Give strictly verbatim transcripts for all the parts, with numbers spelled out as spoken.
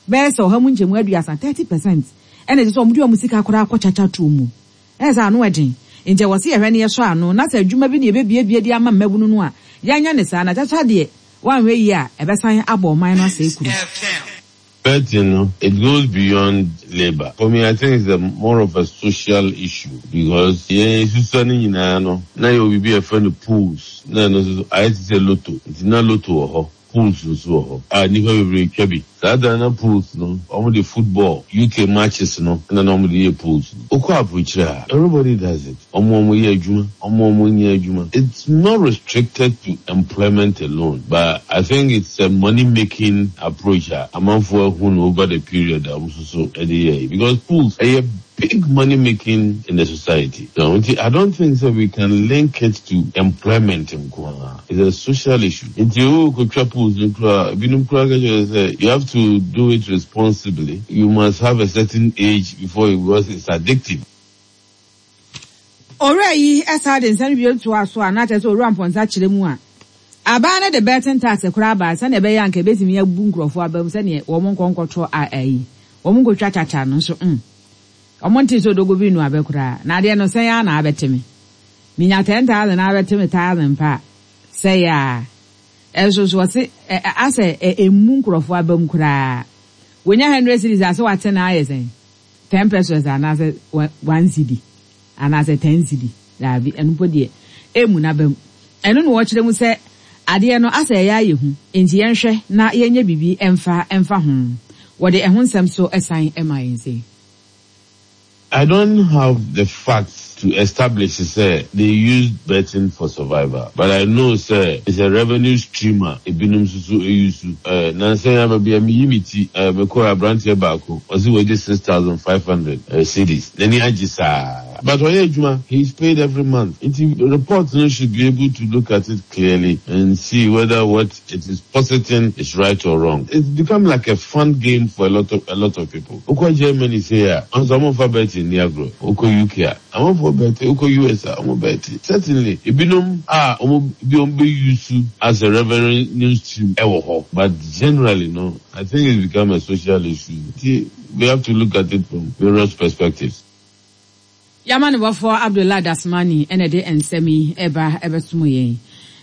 Bɛyɛ sɛ ɔha mu nkyɛmu aduasa, thirty percent, ɛna ɛsɛ sɛ wɔn de wɔn sika koraa kɔ kyakya tuo mu. Ɛyɛ sɛ ano ɛden. Nti ɛwɔ sɛ yɛhwɛ ne yɛsɔ ano na sɛ adwuma bi na yɛbɛbiebie de ama mmabunu no a, yɛnyɛ ne saa na kyakya deɛ, woanhwɛ yie a, ɛbɛsan abɔ ɔman no asɛe kuro. Betting, no, it goes beyond labor. For me, I think it's a more of a social issue because yeah, susua ne nyinaa no, na yɛ obi bi a yɛfrɛ no pools. Na ɛno nso ayɛ te sɛ lotto. Nti na lotto wɔ hɔ, pools nso wɔ hɔ. A nnipa bebree twa bi. Saa da na pools no, wɔn de football, U K matches no, ɛna na wɔn de yɛ pools no. Okɔ aburokyire a, everybody does it. Wɔn a wɔn yɛ adwuma, wɔn a wɔn nyɛ adwuma. It's not restricted to employment alone, but I think it's a money making approach a amanfoɔ ahu no over the period a wɔn nso so ɛde yɛ yi. Because pools ɛyɛ big money making in the society. So nti I don't think that we can link it to employment nko ara. It's a social issue. Nti o kotwa pools no koraa, ebinom koraa ka kyerɛ sɛ you have to do it responsibly. You must have a certain age before you, because it's addictive. Owura yi ɛsa de nsɛm bio toa so a, na kyerɛ sɛ Owura Mpɔnsa kyerɛ mu a, aban no de betting tax koraa ba sɛnea ɛbɛyɛ anka ebɛtumi abu nkurɔfoɔ aba mu sɛnea wɔn nkɔ nkɔtɔ a ayi wɔn nkɔtwa kyakya no nso mm wɔn nte sɛ odogo bi nu abɛ koraa na adeɛ no sɛn ara na abɛte me, minya ten thousand na abɛte me thousand pa sɛ yɛ a, ɛnso so wɔse ɛ ɛ asɛ ɛ emu nkurɔfoɔ aba mu koraa. Wonya hundred cedis ase, wate na ayɛ sɛn, ten pesewas anaasɛ one cedi anaasɛ ten cedi, daabi, ɛno mpo deɛ emu n'aba mu. Ɛno na wɔkyerɛ mu sɛ adeɛ no asɛ ɛyɛ ayɛ hu, nti yɛnhwɛ na yɛnyɛ biribi ɛmfa ɛmfa ho. Wɔde ɛho nsɛm so ɛsan ɛma yɛn sɛ I don't have the facts to establish sɛ they use betting for survival, but I know sɛ it's a revenue stream a ebinom nso so use. Uh, nansa yi aba bi a meyi mi ti uh, mekɔɔ aberanteɛ baako, ɔsi wɔgye six thousand five hundred uh, cedis, n'ani agye saa. But ɔyɛ adwuma, he is paid every month. Nti report no should be able to look at it clearly and see whether what it is positing is right or wrong. It's become like a fun game for a lot of a lot of people. Okɔ Germany sei a, ɔnso ɔmo nfa betting ni agorɔ. Okɔ U K a, amanfoɔ bet. Okɔ U S a, ɔmo bet. Certainly, ebinom a ɔmo bi ɔmo bɛ use as a revenue stream ɛwɔ hɔ. But generally no, I think it's become a social issue. Nti we have to look at it from various perspectives. Yama ne bɔfoɔ Abdullahi Dasmani ɛna de nsɛm yi ɛba ɛbɛsom yɛn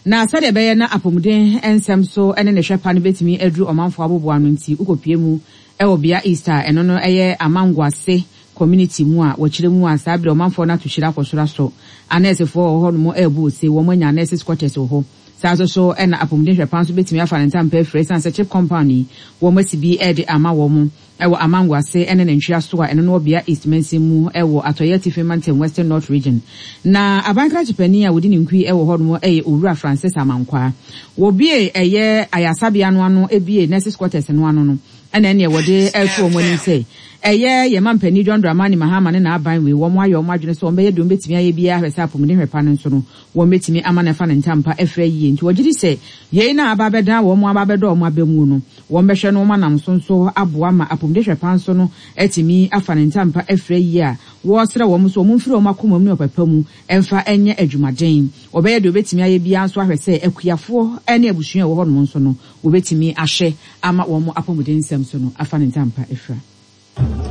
na sɛdeɛ ɛbɛyɛ na apɔmuden nsɛm so ɛne ne hwɛ pa no bɛtumi aduru ɔmanfoɔ aboboa no. Nti wokɔpie mu ɛwɔ Bea East a, ɛno no ɛyɛ Amangoase community mu a, wɔkyerɛ mu a, saa berɛ ɔmanfoɔ no ato hyira akɔ soro asɔ anɛɛsefoɔ wɔ hɔ nom ɛɛbu ose wɔn anya nurses quarters wɔ hɔ. Saa nso so ɛna apɔmuden hwɛ pa nso bɛtumi afa ne ntampa afiri ɛsiane sɛ CHPS compound yi wɔn asi bi ɛde ama wɔn ɛwɔ Amangoase ɛne ne ntwea so a, ɛno no wɔ Bea East mansin mu ɛwɔ Atɔyɛ Atifi Mantam, Western North Region. Na abankrakye panin a wɔdi ne nkui ɛwɔ hɔnom ɛyɛ Owura Francis Amankwaa. Wɔbie ɛyɛ ayasabea no ano, ebie nurses quarters no ano no, ɛna ɛneɛ wɔde ɛto wɔn anim sɛ ɛyɛ yɛma mpanin John Dramani Mahama ne n'aban wei, wɔn ayɛ wɔn adwene sɛ wɔn bɛyɛ deɛ wɔn bɛtumi ayɛ biara hwɛ sɛ apɔmuden hwɛ pa no nso no wɔn bɛtumi ama no afa ne ntampa afira yie. Nti wɔgye di sɛ yei na aba abɛdan wɔn aba abɛdɔ wɔn aba mu no, wɔn bɛhwɛ no wɔn anam so nso aboa ma apɔmuden hwɛ pa nso no atumi afa ne ntampa afira yie a, wɔresrɛ wɔn nso wɔn mfiri wɔn akoma mu ne ɔpɛpɛ mu ɛmfa ɛnyɛ adwumaden. Wɔbɛyɛ deɛ wɔbɛtumi ayɛ biara nso ahwɛ sɛ akuafoɔ ne abusua a ɛwɔ hɔnom nso no wɔbɛtumi ahwɛ ama wɔn apɔmuden nsɛm so no afa ne ntampa afira.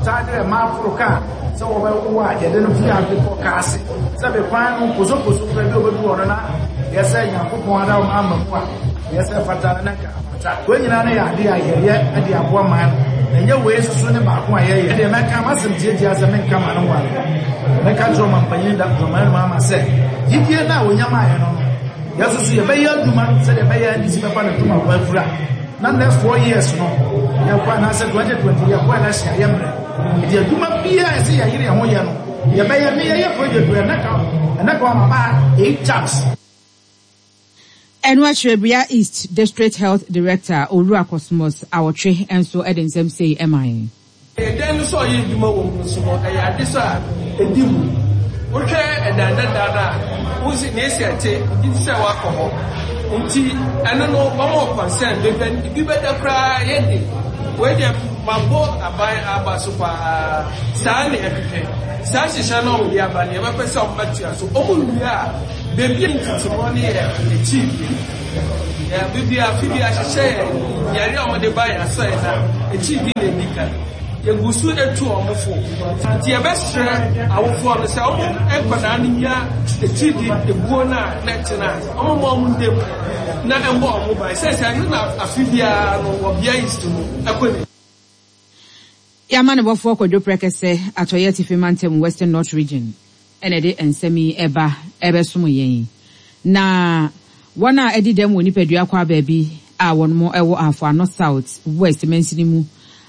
Saa deɛ maaforo kaa sɛ wɔbɛwo a, yɛde no fi ade kɔ kaa ase sɛ kwan no posoposo kora bi a obɛdu hɔ no na yɛsɛ Nyankopɔn ada wɔn ama mu a yɛsɛ fata na nka afata. Wɔn nyinaa no yɛ ade a yɛyɛ de aboa man no, na ɛnyɛ wei soso ne baako a yɛyɛ. Ɛdeɛ mɛka masɛm tietia sɛ menka ma no ware, mɛka kyerɛ ɔmampanyin da dɔman no ama sɛ gyidie no a onyam ayɛ no no yɛso so yɛbɛyɛ adwuma sɛdeɛ ɛbɛyɛ N D C bɛfa no tuma kɔ afura na next four years no yɛkɔ anaasɛ twenty twenty yɛkɔ election a, yɛmmerɛ nti adwuma biara ɛsɛ yɛyere yɛn ho yɛ no yɛbɛyɛ. Me yɛyɛ project wɔ ɛnɛ ka ɛnɛ ka ɔma ba eight times. Ɛno akyerɛ Bea East District Health Director Owura Cosmos Awɔtwe nso de nsɛm sei ɛma yɛn. Ɛdan no sɛ ɔyɛ adwuma wɔ mu nso no, ɛyɛ ade so a ɛdi mu. Wohwɛ ɛdan dada no a, wosi na esi ɛte nti sɛ wakɔ hɔ nti ɛno no wɔn concern bebe bi bɛda koraa yɛ de wei deɛ mabɔ aban aba so paa. Saa na ɛhwehwɛ saa hyehyɛ no a wɔde aba no, yɛbɛpɛ sɛ ɔmbɛtua so ɔmo wie a, beebi a ntutumɔ no yɛ akyi bi yɛ beebi a afi bi ahyehyɛ yɛ yɛre a wɔde ba yɛ asɔ yɛ na akyi bi. edi kan. Yɛgu so etu wɔn fo. Nti yɛbɛsrɛ awofoɔ no sɛ wɔn nkwadaa no nya etiri di ebuo no a na ɛtena a wɔn ma wɔn ndam na ɛmbɔ wɔn ban sɛ sɛ ɛno na afe biara no wɔ Bia East mu ɛkɔ ne. Yɛama ne bɔfoɔ Kwadwo Prɛkɛsɛ, Atɔeɛ Atifi Mantam, Western North Region, ɛna ɛde nsɛm yi ɛba ɛbɛsom yɛn. Na wɔn a ɛdi dɛm wɔ nipadua kɔ baabi a wɔn wɔ Ahafo Ano South West mansini mu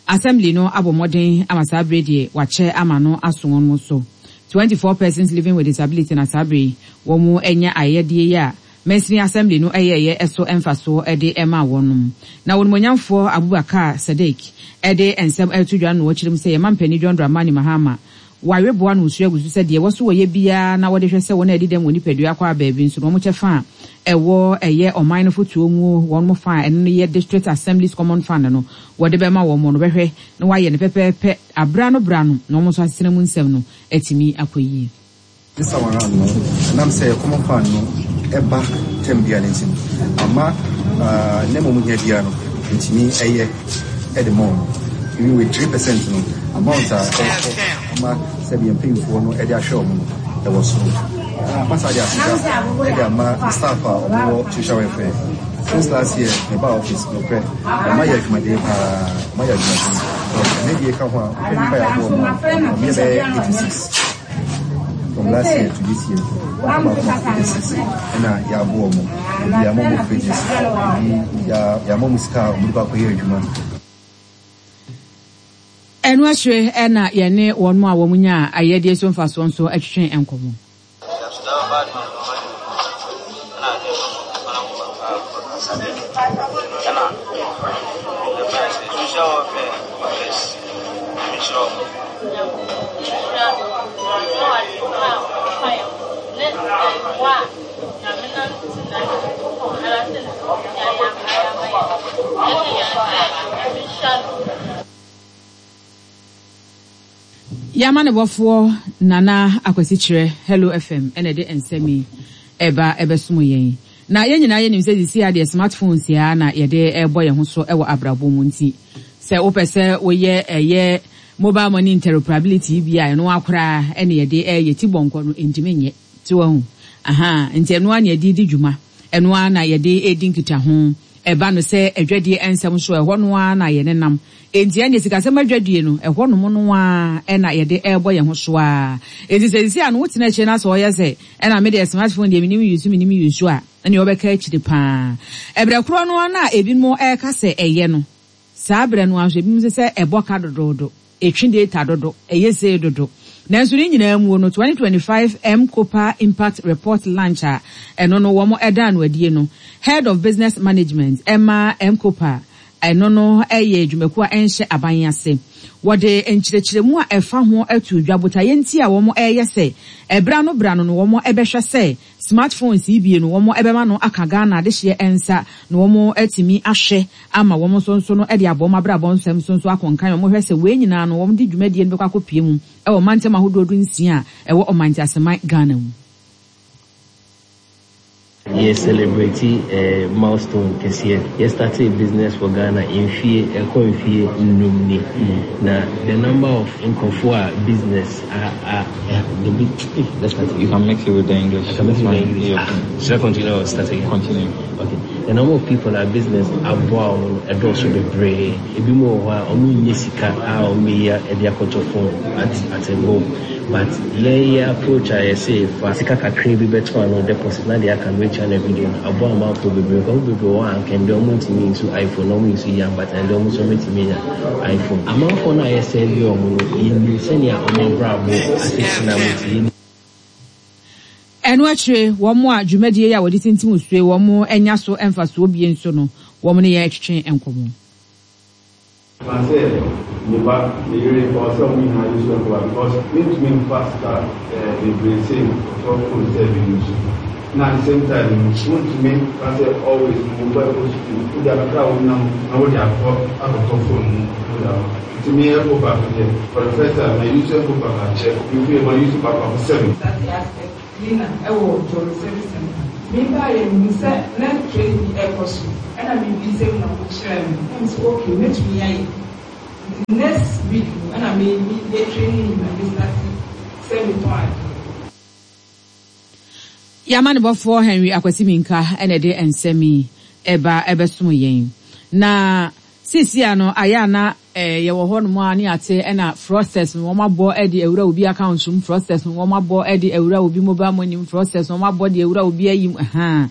Assembly no abɔ mmɔden ama saa bere deɛ wakyɛ ama no aso wɔn so. twenty-four persons living with disability na saa bere wɔn anya ayɛdeɛ yi a mansini Assembly no ɛyɛɛyɛ ɛso mfasoɔ ɛde ɛma wɔn. Na wɔn monyamfoɔ Abubakar Sadiq ɛde nsɛm ɛto dwa no wɔkyerɛ mu sɛ yɛma mpanin John Dramani Mahama wareboa no nsuo agu so sɛ deɛ wɔso wɔyɛ biara na wɔde hwɛ sɛ wɔn a ɛdi dɛm wɔ nipadua kɔ abaabi nso no wɔn kyɛ fa a ɛwɔ ɛyɛ ɔman no fotuo mu wɔn mo fa a ɛno no yɛ District Assemblies Common Fund no wɔde bɛma wɔn no bɛhwɛ na wɔayɛ no pɛpɛɛpɛ abra no bra no na wɔn nso asetena mu nsɛm no atumi akɔ yie. This time around no, ɛnam sɛ common fund no ɛba term biara no nti no, ama ne mmom hia biara no ntumi ɛyɛ ɛde ma wɔn. Even with three percent no, amount a ɛkɔ ama sɛdeɛ mpanyinfoɔ no ɛde ahwɛ wɔn no ɛwɔ soro. Masa de aseda ɛde ama staff a wɔwɔ social welfare. Since last year, me ba office no prɛ, ɔma yɛ adwumaden paa, ɔma yɛ adwumaden. Ɛnɛ deɛ ka ho a, wohwɛ nipa yɛ aboɔ mu a, ɔmo yɛ bɛyɛ eighty six. From last year to this year, baako baako eighty six ɛna yɛaboɔ mo. Ebi yɛama mo fridges, ebi yɛama mo sika a ɔmo de kɔ akɔyɛ adwuma. Ɛno akyire ɛna yɛne wɔn a wɔn nya ayɛdeɛ so mfasoɔ nso atwitwe nkɔmmɔ. Yɛama ne bɔfoɔ Nana Akwasi Kyerɛ, Hello F M, ɛna ɛde nsɛm yi ɛba ɛbɛsom yɛn. Na yɛn nyinaa yɛnim sɛ sisi adeɛ smartphones ya na yɛde ɛbɔ yɛn ho so ɛwɔ abrabɔ mu, nti sɛ wopɛ sɛ woyɛ ɛyɛ mobile money interoperability bi a, ɛno akoraa ɛna yɛde ɛyɛ ti bɔnkɔ no ntumi nyɛ ti wɔ ho aha. Nti ɛno a na yɛde di dwuma, ɛno a na yɛde edi nkitaho ɛba no sɛ adwadie nsɛm so ɛhɔ no ara na yɛne nam. Enti ɛne sikasɛm adwadie no ɛhɔ nom no ara ɛna yɛde ɛrebɔ yɛn ho so a. Enti sɛ sisi a no wotena akyire na sɛ ɔyɛ sɛ ɛna me deɛ smartphone deɛ menim use menim use a, ɛne ɔbɛka akyire paa. Ɛbrɛ korɔ no na ebinom ɛreka sɛ ɛyɛ no saa berɛ no nso ebinom sɛ ɛbɔ ka dodoodo, etwi data dodo, ɛyɛ sei dodo. Nanso ne nyinaa mu no, twenty twenty-five M-KOPA Impact Report launch a ɛno no wɔn ɛda no adie no, Head of Business Management ɛma M-KOPA, ɛno no ɛyɛ dwumakuo a ɛnhyɛ aban ase, wɔde nkyerɛkyerɛmu a ɛfa ho ato dwa botaeɛ nti a wɔn ɛreyɛ sɛ ɛbra no bra no no wɔn ɛbɛhwɛ sɛ smartphones yi bie no wɔn ɛbɛma no aka Ghana adehyeɛ nsa na wɔn atumi ahwɛ ama wɔn nso nso no ɛde abɔ wɔn abrabɔ nsɛm nso nso akɔnkan. Wɔn hwɛ sɛ wei nyinaa no wɔn de dwumadie no bɛkɔ akɔpie mu ɛwɔ mantam ahodoɔ du nsia a ɛwɔ ɔmantaseman Ghana mu. Yɛ celebrate uh, milestone kɛseɛ. Yɛ start a business for Ghana mfie ɛkɔ mfie nnum ni, na the number of nkurɔfoɔ a business a a the big, let's start You can mix it with the English. I can mix it with the English. Yeah. Ah, should I continue or start again? Continue. Okay. The number of people a business aboa wɔn no ɛdɔɔso bebree. Ebi mu wɔ hɔ a wɔn nyɛ sika a wɔn bɛyi ɛde akɔtɔ phone at at a go, but yɛn yɛ approach a yɛsɛ fa sika kakra bi bɛto ano deposit na deɛ aka no etua no everyday no aboa amanfoɔ bebree. Nkurɔfoɔ bebree wɔ hɔ a anka ndɛ wɔn ntumi nsu iPhone na wɔn nsu yam, but ndɛ wɔn nso wɔntumi anya iPhone. Amanfoɔ no a yɛsɛ bi wɔn no, yɛnim sɛnea wɔn abrabɔ asetena mu ti yɛnim. Ɛno akyire wɔn a dwumadie yi a wɔde tintim sue wɔn anya so mfasoɔ bie nso no, wɔn ne yɛn twetwe nkɔmmɔ. Na sɛ me ba, me yere, ɔwɔ sɛ ɔmo nyinaa use M-KOPA because mentumi nfa sika ɛɛ bebree sɛ ɔtɔ phone sɛ bi use, na at the same time no wontumi ka sɛ always no wo ba ɛkɔ sukuu, wode akakra a wonam na wode akɔ akɔtɔ phone mu wode ama. Nti me M-KOPA no deɛ, for the first time ma use M-KOPA akyɛ mefie, ma use baako baako seven. Cleaner ɛwɔ Jolly Service Center. Mebaa yɛ mehu sɛ na training bi ɛkɔ so, ɛna mebisa mu na wɔkyerɛ me na mesɛ okay, mɛtumi ayɛ. Nti Nti next week no ɛna me me yɛ training na me start sɛ metɔn adeɛ. Yɛamanebɔfoɔ Henry Akwasi Minka ɛna ɛde nsɛm yi ɛba ɛbɛsom yɛn. Na seesei a no ayɛ ana eh, yɛwɔ hɔnom a ne ate ɛna fraudsters no wɔn abɔ ɛde awura obi account mu, fraudsters no wɔn abɔ ɛde awura obi mobile money mu, fraudsters no wɔn abɔ de awura obi ayi mu ɛhan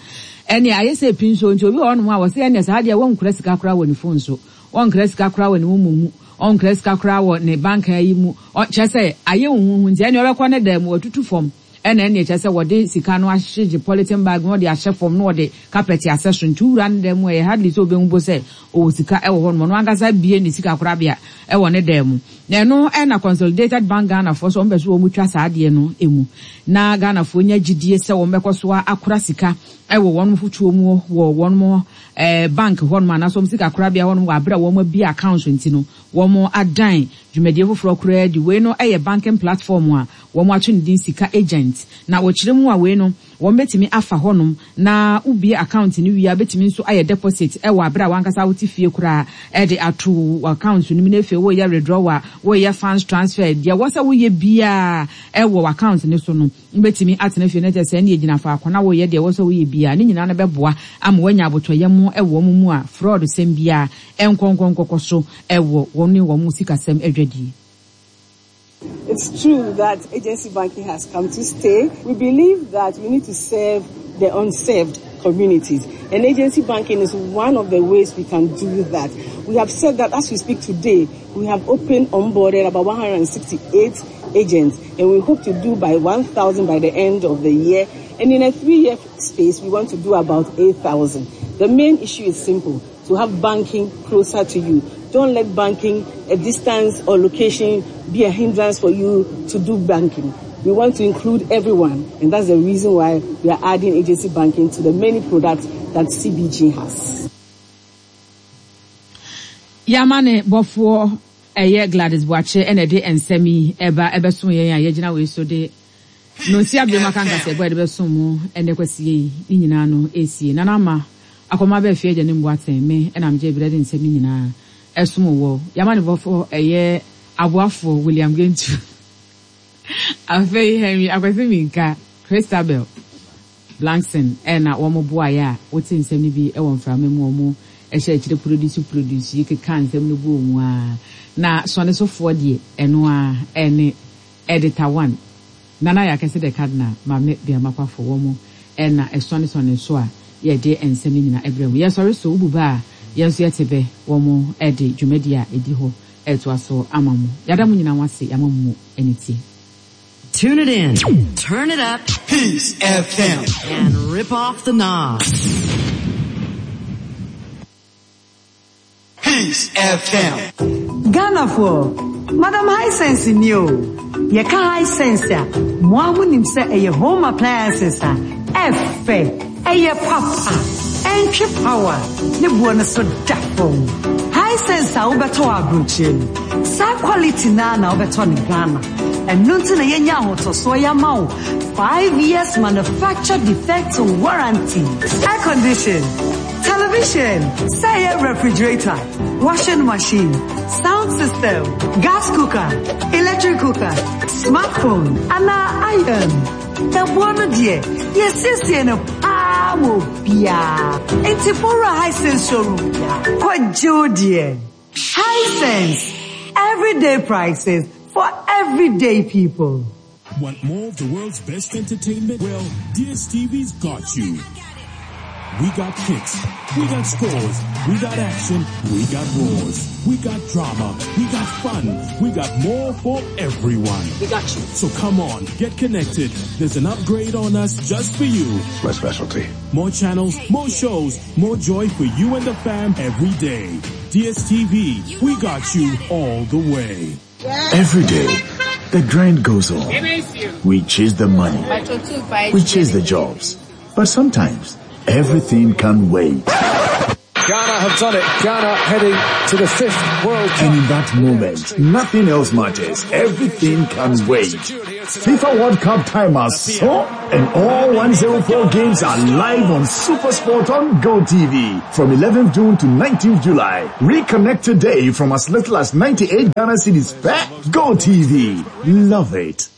ɛne ayɛ sɛ epi nso. Nti obi wɔ hɔnom a wɔsɛ ɛne saa deɛ, wɔnkura sika koraa wɔ ne phone so, wɔnkura sika koraa wɔ ne mu mu, ɔnkura sika koraa wɔ ne bank ayi mu. Kyerɛ sɛ ayɛ huhuhu, nti ɛne ɔbɛkɔ ne dan mu, wɔtutu fam, ɛna ɛne kyerɛ sɛ wɔde sika no ahyegye polythene bag na wɔde ahyɛ fam na wɔde carpet asɛ so. Nti wura ne dan mu, ɛyɛ hardly sɛ obɛhu bo sɛ ɔwɔ sika ɛwɔ hɔ nom. Ɔno ankasa bie ne sika korabea ɛwɔ ne dan mu. Na ɛno ɛna Consolidated Bank Ghanafoɔ so wɔn bɛ so wɔn twa saa adeɛ no emu na Ghanafoɔ nya gyidie sɛ wɔn bɛkɔ so akora sika ɛwɔ wɔn fotuo mu wɔ wɔn ɛɛ bank hɔnom anaasɛ wɔn sika korabea hɔnom wɔ abere a wɔn abie account. Nti no wɔn adan dwumadie foforɔ koraa di. Wei no ɛyɛ banking platform a wɔn ato ne din Sika Agent, na wɔkyerɛ mu a, wei no wɔn bɛtumi afa hɔnom na wobie account no wie a, bɛtumi nso ayɛ deposit ɛwɔ abere a wankasa wote fie koraa ɛde ato account no mu. Na afei wɔyɛ withdrawal, wɔyɛ funds transfer, deɛ wɔ sɛ woyɛ biara ɛwɔ account no so no, wobɛtumi atena fie no kyɛ sɛ ɛne gyina faako na woyɛ deɛ wɔ sɛ woyɛ biara ne nyinaa no bɛboa ama woanya abotɔyam ɛwɔ mu mu a fraud sɛm biara ɛnkɔnkɔnkɔkɔ so ɛwɔ wɔn ne wɔn sikasɛm adwadie. It's true that agency banking has come to stay. We believe that we need to serve the unserved communities. And agency banking is one of the ways we can do that. We have said that as we speak today, we have opened, onboarded about one hundred sixty-eight agents, and we hope to do by one thousand by the end of the year. And in a three-year space, we want to do about eight thousand. The main issue is simple: to have banking closer to you. Don't let banking, a distance or location, be a hindrance for you to do banking. We want to include everyone, and that's the reason why we are adding agency banking to the many products that C B G has. Yamane bɔfoɔ ɛyɛ Gladys Boakye ɛna ɛde nsɛm yi ɛba ɛbɛsom yɛn a yɛgyina wei so de nonsi abiri maka nkasa ɛbɔ yɛde bɛsom mu ɛnɛ kwasie yi ne nyinaa no esie. Nana Ama akɔma bɛɛ fie agya ne mbu atɛn me ɛna megye ebire de nsɛm ne nyinaa ɛsom wɔ. Yamane bɔfoɔ ɛyɛ aboafoɔ William Gentu, afei Henry Akwasi Minka, Christabel Blankson ɛna wɔn boaeɛ a wote nsɛm no bi ɛwɔ mframa mu. Wɔn ɛhyɛ akyire produce produce yi keka nsɛm no gu wɔn a na sɔne sofoɔ deɛ ɛno a ɛne editor one Nana yɛ akɛse de Cardinal Maame Biamakwafo. Wɔn ɛna ɛsɔne sɔne so a yɛde nsɛm no nyinaa ɛbrɛ mu. Yɛsɔre so wobu ba a, yɛn nso yɛte bɛ wɔn ɛde dwumadi a ɛdi hɔ ɛtoa so ama mo. Yɛada mo nyinaa ho ase, yɛama mo mu ɛne tie. Tune it in, turn it up, Peace F M, and rip off the knob. Peace F M. Ghanafoɔ, Madam Hisense ni o. Yɛka Hisense a, mo a monim sɛ ɛyɛ home appliances a ɛfɛ, ɛyɛ papa, ɛntwe power, ne boɔ no so da fam. Hisense a wobɛtɔ wɔ aburokyire no, saa quality naa na wobɛtɔ ne Ghana. Ɛno nti na yɛnya ahotɔsoɔ yɛama wo five years manufacture defect warranty. Air condition, television, sɛ ɛyɛ refrigerator, washing machine, sound system, gas cooker, electric cooker, smartphone, anaa iron. Ɛboɔ no deɛ, yɛsiesie no paa ma obiara. Nti fowura Hisense showroom bia, kɔgye wo deɛ. Hisense, everyday prices for everyday people. Want more of the world's best entertainment? Well, D S T V's got you. We got kicks. We got scores. We got action. We got roars. We got drama. We got fun. We got more for everyone. We got you. So come on, get connected. There's an upgrade on us just for you. It's my specialty. More channels, more shows, more joy for you and the fam every day. D S T V, we got you all the way. Every day, the grind goes on. We chase the money. We chase the jobs. But sometimes, everything can wait. Ghana have done it. Ghana heading to the fifth World Cup. And in that moment, nothing else matters. Everything can wait. FIFA World Cup time is so, and all one zero four games are live on SuperSport on GoTV from eleventh June to nineteenth July. Reconnect today from as little as ninety-eight Ghana cedis per GoTV. Love it.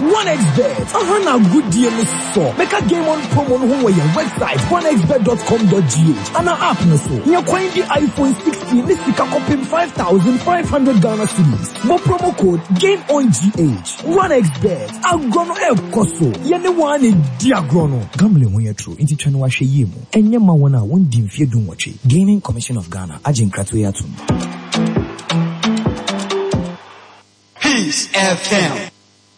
OneXBet, uh-huh, now good deal is so. Make a game on promo on your website, one x bet dot com dot g h, and our app no so. You coin the iPhone sixteen, this is copy five thousand five hundred Ghana cedis. More promo code Game On G H. OneXBet, agrono el koso. Yene one diagrono. Gambling when you're true, inti channel washe yemu. Enye ma wana one dim fear dun wache. Gaming Commission of Ghana, Ajin Kratwe Atum. Peace F M.